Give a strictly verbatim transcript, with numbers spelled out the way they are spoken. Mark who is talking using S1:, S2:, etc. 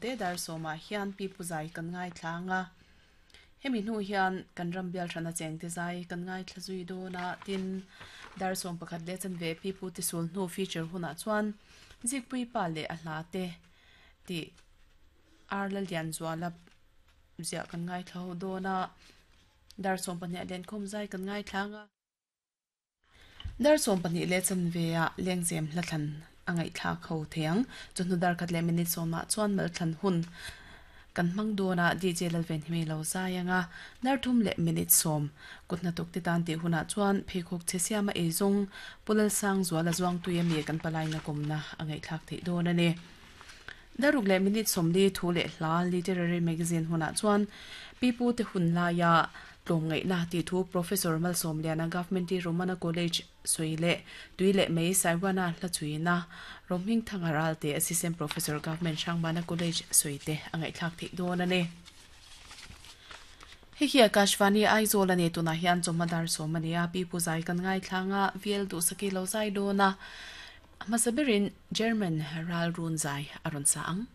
S1: Te dar sawmah hian pipu zai kan ngaithla anga, hemi hnu hian kan ram bial hrana chengte zai kan ngaithla zui dawn a, tin dar sawm pakhat leh chanve pipu te sul hnu feature hunah chuan zikpui pa leh a hla te tih ar la lian zuala ziah kan ngaithla ho dawn a, dar sawm pahnih ah lenkhawm zai kan ngaithla anga. Dar sawm pahnih leh chanve ah lengzem hla thlan a ngaihthlak ho thei ang. Chawhnu dar khat leh minute sawmah chuan mal thlan hun kan hmang dawn a, D J Lalvenhimi lo zai ang a. Dar thum leh minute sawm kut hnathawk te tan tih hunah chuan pheikhawk chhe siama ei zawng Pu Lalsangzuala Zuangtui ami kan palaina kawmna a ngaihthlak theih dawn a ni. Daruk leh minute sawmli thu leh hla Literary Magazine hunah chuan pipu te hun laia tlawmngaihna tih thu Professor Malsawmliana Government Romana College sawi leh tui leh mei Saiwana hla chhuina Rohmingthanga Ralte Assistant Professor Government Hrangbana College sawi te a ngaihthlak theih dawn a ni. Hei hi Akashvani Aizawl a ni tunah hian chawhma dar sawm a ni a, pipu zai kan ngaithlang a, V L Duhsaki lo zai dawn a, a hmasa berin German ral run zai a rawn sa ang.